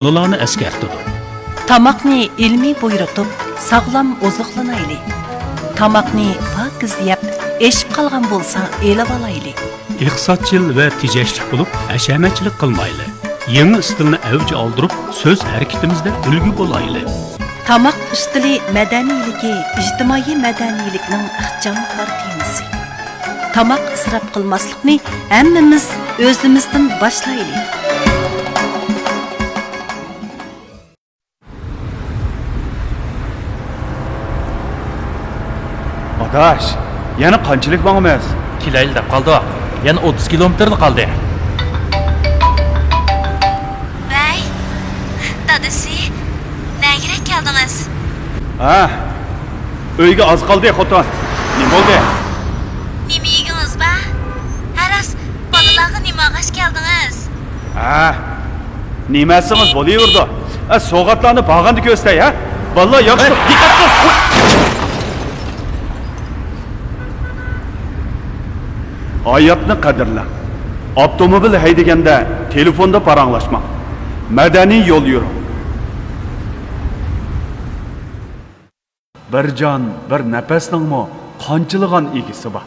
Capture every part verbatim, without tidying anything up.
بالىلارنى ئەسكەرتىدۇ. تاماقنى ئىلمىي بۇيرۇتۇپ، ساغلام ئوزۇقلىنايلى. تاماقنى پاكىز يەپ، ئېشىپ قالغان بولسا ئېلىۋالايلى. ئىقتىسادچىل ۋە تېجەشلىك بولۇپ، ھەشەمەتچىلىك قىلمايلى. يېڭى ئىستىلنى ئەۋج ئالدۇرۇپ، سۆز ھەرىكىتىمىزدە ئۈلگە بولايلى. تاماق ئۈستىلى مەدەنىيلىكى ئىجتىمائىي مەدەنىيلىكنىڭ ئىخچاملىقلار تېمىسى. تاماق ئىسراپ قىلماسلىقنى ھەممىمىز ئۆزىمىزدىن باشلايلى. ئاداش، يەنە قانچىلىك ماڭىمىز؟ كېلەيلى دەپ قالدۇق. يەنە ئوتتۇز كىلومېتىرلا قالدى. ۋەي، دادىسى، نەگىرەك كەلدىڭىز؟ ھە، ئۆيگە ئاز قالدى، خوتۇن. نېمە بولدى؟ نېمە يېگىڭىز بار؟ ھە راست، بالىلارغا نېمە ئالغاچ كەلدىڭىز؟ ھە، نېمە ئەتسىڭىز بولۇۋېرىدۇ. ئە، سوۋغاتلارنى بارغاندا كۆرسىتەي، ھە؟ بالىلار ياخشى. ھە، دىققەت قىل! ھاياتنى قەدىرلەڭ. ئاپتوموبىل ھەيدىگەندە تېلېفوندا پاراڭلاشماڭ. مەدەنىي يول يۈرۈڭ. بىر جان، بىر نەپەسنىڭمۇ قانچىلىغان ئىگىسى بار.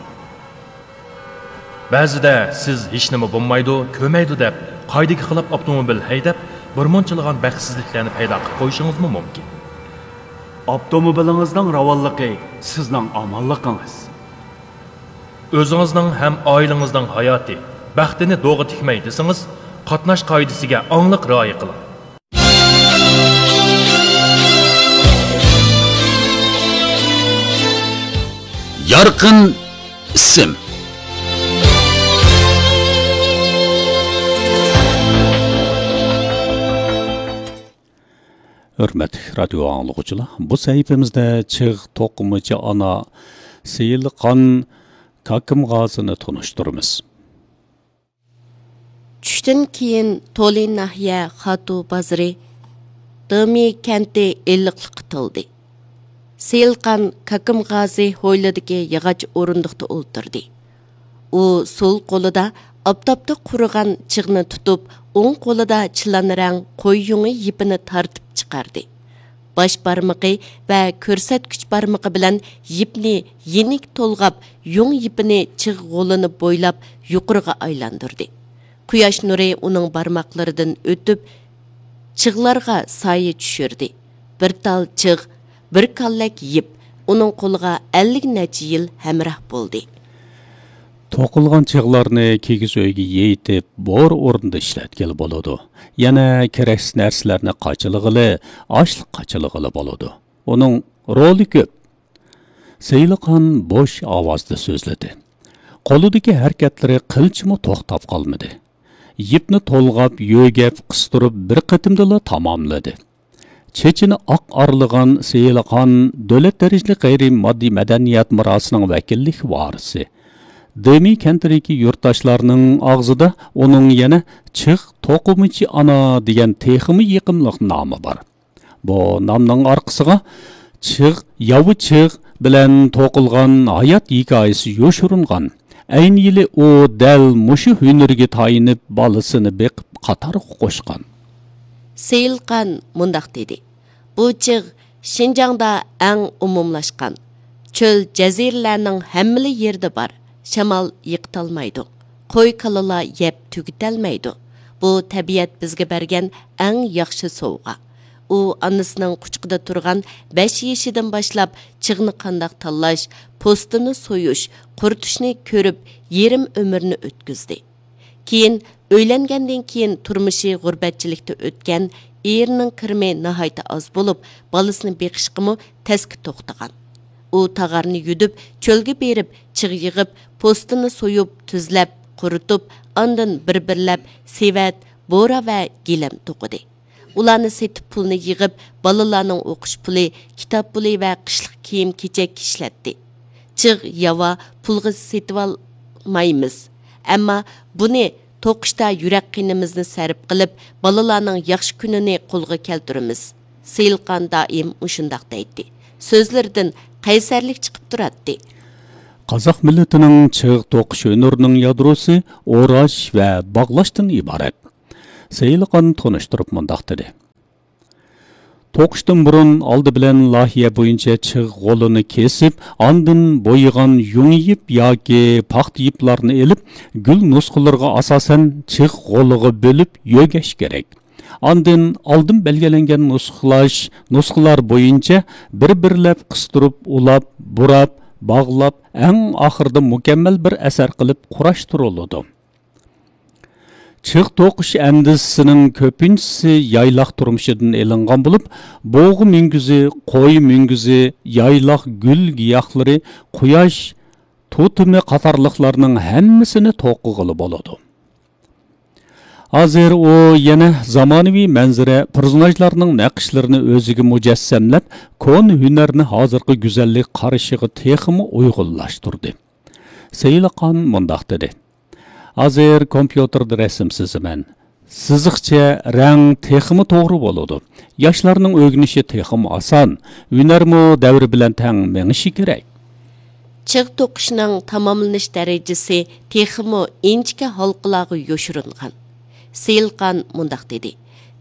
بەزىدە سىز ھېچنېمە بولمايدۇ، كۆرمەيدۇ دەپ، قائىدىگە خىلاپ ئاپتوموبىل ھەيدەپ، بىرمۇنچىلىغان بەختسىزلىكلەرنى پەيدا قىلىپ قويۇشىڭىزمۇ مۇمكىن. ئاپتوموبىلىڭىزنىڭ راۋانلىقى سىزنىڭ ئامانلىقىڭىز. ئۆزىڭىزنىڭ ھەم ئائىلىڭىزنىڭ ھاياتى، بەختىنى دوغا تىكمەي دېسىڭىز، قاتناش قائىدىسىگە ئاڭلىق رىئايە قىلىڭ. يارقىن ئىسىم. ھۆرمەتلىك رادىيو ئاڭلىغۇچىلار، بۇ سەھىپىمىزدە چىغ توقۇمىچى ئانا سېيىلخان كاكىمغازىنى تونۇشتۇرىمىز. چۈشتىن كېيىن تولى ناھىيە خاتۇ بازىرى دېمى كەنتى ئىللىقلىققا تولدى. سېيىلخان كاكىمغازى ھويلىدىكى ياغاچ ئورۇندۇقتا ئولتۇردى. ئۇ سول قولىدا ئاپتاپتا قۇرۇغان چىغنى تۇتۇپ، ئوڭ قولىدا چىلان رەڭ قوي يۇڭى يىپىنى تارتىپ چىقاردى. باش بارمىقى ۋە كۆرسەتكۈچ بارمىقى بىلەن يىپنى يېنىك تولغاپ، يۇڭ يىپىنى چىغ غولىنى بويلاپ يۇقىرىغا ئايلاندۇردى. قۇياش نۇرى ئۇنىڭ بارماقلىرىدىن ئۆتۈپ، چىغلارغا سايە چۈشۈردى. بىر تال چىغ، بىر كاللەك يىپ ئۇنىڭ قولىغا ئەللىك نەچچە يىل ھەمراھ بولدى. توقۇلغان چىغلارنى كىگىز ئۆيگە يېيىتىپ، بور ئورنىدا ئىشلەتكىلى بولىدۇ. يەنە كېرەكسىز نەرسىلەرنى قاچىلىغىلى، ئاشلىق قاچىلىغىلى بولىدۇ. ئۇنىڭ رولى كۆپ. سېيىلخان بوش ئاۋازدا سۆزلىدى. قولىدىكى ھەرىكەتلىرى قىلچىمۇ توختاپ قالمىدى. يىپنى تولغاپ، يۆگەپ، قىستۇرۇپ بىر قېتىمدىلا تاماملىدى. چېچىنى ئاق ئارىلىغان سېيىلخان دۆلەت دەرىجىلىك غەيرىي ماددىي مەدەنىيەت مىراسىنىڭ ۋەكىللىك ۋارىسى. دېمى كەنتىدىكى يۇرتداشلارنىڭ ئاغزىدا ئۇنىڭ يەنە چىغ توقۇمىچى ئانا دېگەن تېخىمۇ يېقىملىق نامى بار. بۇ نامنىڭ ئارقىسىغا چىغ، ياۋا چىغ بىلەن توقۇلغان ھايات ھېكايىسى يوشۇرۇنغان. ئەينى يىلى ئۇ دەل مۇشۇ ھۈنىرىگە تايىنىپ بالىسىنى بېقىپ قاتارغا قوشقان. سېيىلخان مۇنداق دېدى: بۇ چىغ شىنجاڭدا ئەڭ ئومۇملاشقان. چۆل، جەزىرىلەرنىڭ ھەممىلا يېرىدە بار. شامال يىقىتالمايدۇ. قوي، كالىلار يەپ تۈگىتەلمەيدۇ. بۇ تەبىئەت بىزگە بەرگەن ئەڭ ياخشى سوۋغا. ئۇ ئانىسىنىڭ قۇچىقىدا تۇرغان بەش يېشىدىن باشلاپ چىغنى قانداق تاللاش، پوستىنى سويۇش، قۇرۇتۇشنى كۆرۈپ، يېرىم ئۆمرىنى ئۆتكۈزدى. كېيىن، ئۆيلەنگەندىن كېيىن تۇرمۇشى غۇربەتچىلىكتە ئۆتكەن، ئېرىنىڭ كىرىمى ناھايىتى ئاز بولۇپ، بالىسىنى بېقىشقىمۇ تەسكە توختىغان. ئۇ تاغارنى يۈدۈپ، چۆلگە بېرىپ، چىغ يىغىپ، پوستىنى سويۇپ، تۈزلەپ، قۇرۇتۇپ، ئاندىن بىر-بىرلەپ سېۋەت، بورا ۋە گىلەم توقۇدى. ئۇلارنى سېتىپ پۇلنى يىغىپ، بالىلارنىڭ ئوقۇش پۇلى، كىتاب پۇلى ۋە قىشلىق كىيىم-كېچەككە ئىشلەتتى. چىغ، ياۋا پۇلغا سېتىۋالمايمىز، ئەمما بۇنى توقۇشتا يۈرەك قېنىمىزنى سەرپ قىلىپ، بالىلارنىڭ ياخشى كۈنىنى قولغا كەلتۈرىمىز. سېيىلخان دائىم مۇشۇنداق دەيتتى. سۆزلىرىدىن قەيسەرلىك چىقىپ تۇراتتى. قازاق مىللىتىنىڭ چىغ توقۇش ھۈنىرىنىڭ يادروسى ئوراش ۋە باغلاشتىن ئىبارەت. سېيىلخان تونۇشتۇرۇپ مۇنداق دېدى: توقۇشتىن بۇرۇن ئالدى بىلەن لايىھە بويىچە چىغ غولىنى كېسىپ، ئاندىن بويىغان يۇڭ يىپ ياكى پاختا يىپلارنى ئېلىپ، گۈل نۇسخىلىرىغا ئاساسەن چىغ غولىغا بۆلۈپ يۆگەش كېرەك. ئاندىن ئالدىن بەلگىلەنگەن نۇسخىلاش، نۇسخىلار بويىچە بىر-بىرلەپ قىستۇرۇپ، ئۇلاپ، بۇراپ، باغلاپ، ئەڭ ئاخىرىدا مۇكەممەل بىر ئەسەر قىلىپ قۇراشتۇرۇلىدۇ. چىغ توقۇش ئەندىزىسىنىڭ كۆپىنچىسى يايلاق تۇرمۇشىدىن ئېلىنغان بولۇپ، بۇغا مۈڭگۈزى، قوي مۈڭگۈزى، يايلاق گۈل گىياھلىرى، قۇياش توتېمى قاتارلىقلارنىڭ ھەممىسىنى توقۇغىلى بولىدۇ. ھازىر ئۇ يەنە زامانىۋى مەنزىرە، پېرسوناژلارنىڭ نەقىشلىرىنى ئۆزىگە مۇجەسسەملەپ، كونا ھۈنەرنى ھازىرقى گۈزەللىك قارىشىغا تېخىمۇ ئۇيغۇنلاشتۇردى. سېيىلخان مۇنداق دېدى: «ھازىر كومپيۇتېردا رەسىم سىزىمەن. سىزىقچە، رەڭ تېخىمۇ توغرا بولىدۇ. ياشلارنىڭ ئۆگىنىشى تېخىمۇ ئاسان، ھۈنەرمۇ دەۋر بىلەن تەڭ مېڭىشى كېرەك.» چىغ توقۇشنىڭ تاماملىنىش دەرىجىسى تېخىمۇ ئىنچىكە ھالقىلارغا يوشۇرۇنغان. سېيىلخان مۇنداق دېدى: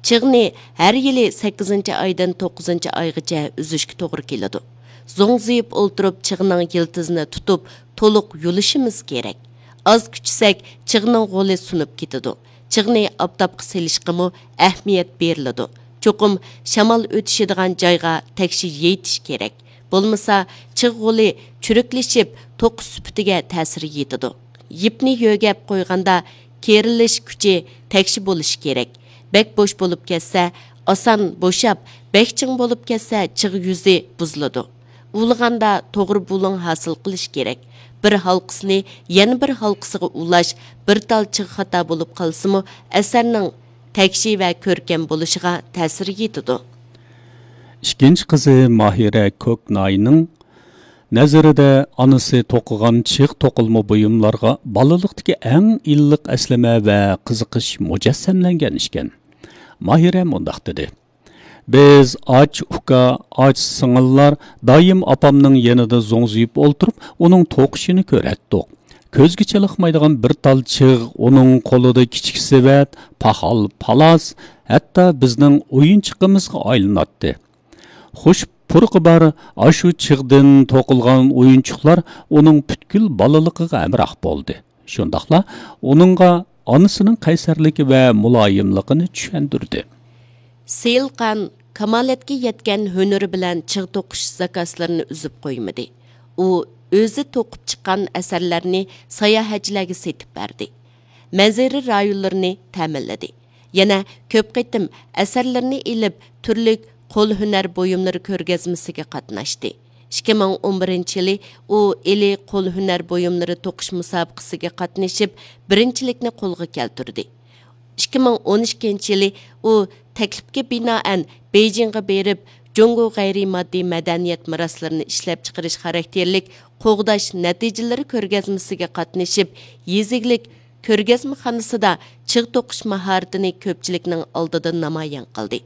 «چىغنى ھەر يىلى سەككىزىنچى ئايدىن توققۇزىنچى ئايغىچە ئۈزۈشكە توغرا كېلىدۇ. زوڭزىيىپ ئولتۇرۇپ چىغنىڭ يىلتىزىنى تۇتۇپ، تولۇق يۇلۇشىمىز كېرەك. ئاز كۈچىسەك، چىغنىڭ غولى سۇنۇپ كېتىدۇ. چىغنى ئاپتاپقا سېلىشقىمۇ ئەھمىيەت بېرىلىدۇ. چوقۇم شامال ئۆتۈشىدىغان جايغا تەكشى يېيىتىش كېرەك. بولمىسا، چىغ غولى چۈرۈكلىشىپ، توقۇش سۈپىتىگە تەسىر يېتىدۇ. يىپنى يۆگەپ قويغاندا، كېرىلىش كۈچى تەكشى بولۇشى كېرەك. بەك بوش بولۇپ كەتسە، ئاسان بوشاپ، بەك چىڭ بولۇپ كەتسە، چىغ يۈزى بۇزۇلىدۇ. ئۇۋىلىغاندا توغرا بۇلۇڭ ھاسىل قىلىش كېرەك. بىر ھالقىسىنى يەنە بىر ھالقىسىغا ئۇلاش، بىر تال چىغ خاتا بولۇپ قالسىمۇ، ئەسەرنىڭ تەكشى ۋە كۆركەم بولۇشىغا تەسىر يېتىدۇ.» ئىككىنچى قىزى ماھىرە كوكناينىڭ نەزىرىدە، ئانىسى توقۇغان چىغ توقۇلما بۇيۇملارغا بالىلىقتىكى ئەڭ ئىللىق ئەسلىمە ۋە قىزىقىش مۇجەسسەملەنگەن ئىكەن. ماھىرە مۇنداق دېدى: «بىز ئاچا ئۇكا، ئاچا سىڭىللار دائىم ئاپامنىڭ يېنىدا زوڭزىيىپ ئولتۇرۇپ، ئۇنىڭ توقۇشىنى كۆرەتتۇق. كۆزگە چېلىقمايدىغان بىر تال چىغ ئۇنىڭ قولىدا كىچىك سېۋەت، پاخال-پالاس، ھەتتا بىزنىڭ ئويۇنچۇقىمىزغا ئايلىناتتى. خۇش پۇرىقى بار ئاشۇ چىغدىن توقۇلغان ئويۇنچۇقلار ئۇنىڭ پۈتكۈل بالىلىقىغا ھەمراھ بولدى. شۇنداقلا ئۇنىڭغا ئانىسىنىڭ قەيسەرلىكى ۋە مۇلايىملىقىنى چۈشەندۈردى.» سېيىلخان كامالەتكە يەتكەن ھۈنىرى بىلەن چىغ توقۇش زاكازلىرىنى ئۈزۈپ قويمىدى. ئۇ ئۆزى توقۇپ چىققان ئەسەرلەرنى ساياھەتچىلەرگە سېتىپ بەردى. مەنزىرە رايونلىرىنى تەمىنلىدى. يەنە كۆپ قېتىم ئەسەرلىرىنى ئېلىپ، تۈرلۈك قول ھۈنەر بۇيۇملىرى كۆرگەزمىسىگە قاتناشتى. ئىككى مىڭ ئون بىرىنچى يىلى ئۇ ئىلى قول ھۈنەر بۇيۇملىرى توقۇش مۇسابىقىسىگە قاتنىشىپ، بىرىنچىلىكنى قولغا كەلتۈردى. ئىككى مىڭ ئون ئىككىنچى يىلى ئۇ تەكلىپكە بىنائەن بېيجىڭغا بېرىپ، جۇڭگو غەيرىي ماددىي مەدەنىيەت مىراسلىرىنى ئىشلەپچىقىرىش خاراكتېرلىك قوغداش نەتىجىلىرى كۆرگەزمىسىگە قاتنىشىپ، يېزا ئىگىلىك كۆرگەزمىخانىسىدا چىغ توقۇش ماھارىتىنى كۆپچىلىكنىڭ ئالدىدا نامايان قىلدى.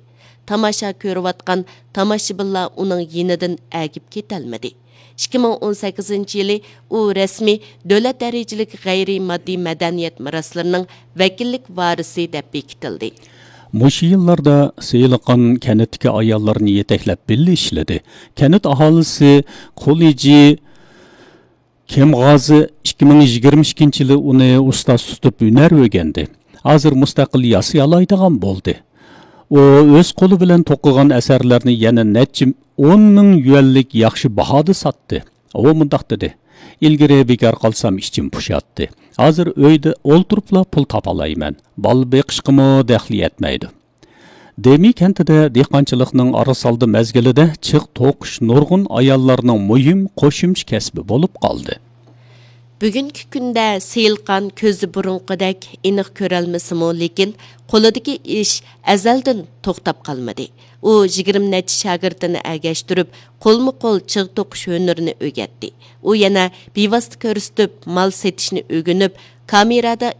تاماشا كۆرۈۋاتقان تاماشىبىنلار ئۇنىڭ يېنىدىن ئەگىپ كېتەلمىدى. ئىككى مىڭ ئون سەككىزىنچى يىلى ئۇ رەسمىي دۆلەت دەرىجىلىك غەيرىي ماددىي مەدەنىيەت مىراسلىرىنىڭ ۋەكىللىك ۋارىسى دەپ بېكىتىلدى. مۇشۇ يىللاردا سېيىلخان كەنتتىكى ئاياللارنى يېتەكلەپ بىللە ئىشلىدى. كەنت ئاھالىسى قۇلىجى كېمغازى ئىككى مىڭ يىگىرمە ئىككىنچى يىلى ئۇنى ئۇستاز تۇتۇپ ھۈنەر ئۆگەندى. ھازىر مۇستەقىل ياسىيالايدىغان بولدى. ئۇ ئۆز قولى بىلەن توقۇغان ئەسەرلەرنى يەنە نەچچە ئون مىڭ يۈەنلىك ياخشى باھادا ساتتى. ئۇ مۇنداق دېدى: «ئىلگىرى بىكار قالسام ئىچىم پۇشاتتى. ھازىر ئۆيدە ئولتۇرۇپلا پۇل تاپالايمەن. بالا بېقىشقىمۇ دەخلى يەتمەيدۇ.» دېمى كەنتىدە دېھقانچىلىقنىڭ ئارىسالدى مەزگىلىدە چىغ توقۇش نۇرغۇن ئاياللارنىڭ مۇھىم قوشۇمچە كەسپى بولۇپ قالدى. بۈگۈنكى كۈندە سېيىلخان كۆزى بۇرۇنقىدەك ئېنىق كۆرەلمىسىمۇ، لېكىن قولىدىكى ئىش ئەزەلدىن توختاپ قالمىدى. ئۇ يىگىرمە نەچچە شاگىرتىنى ئەگەشتۈرۈپ، قولمۇ قول چىغ توقۇش ھۈنىرىنى ئۆگەتتى. ئۇ يەنە بىۋاسىتە كۆرسىتىپ مال سېتىشنى ئۆگىنىپ، كامېرادا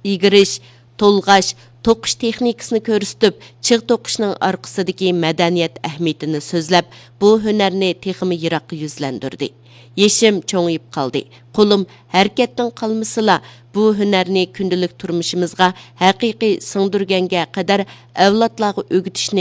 ئىگىرىش، تولغاش، توقۇش تېخنىكىسىنى كۆرسىتىپ، چىغ توقۇشنىڭ ئارقىسىدىكى مەدەنىيەت ئەھمىيىتىنى سۆزلەپ، بۇ ھۈنەرنى تېخىمۇ يىراققا يۈزلەندۈردى. يېشىم چوڭىيىپ قالدى، قولۇم ھەرىكەتتىن قالمىسىلا، بۇ ھۈنەرنى كۈندىلىك تۇرمۇشىمىزغا ھەقىقىي سىڭدۈرگەنگە قەدەر ئەۋلادلارغا ئۆگىتىشنى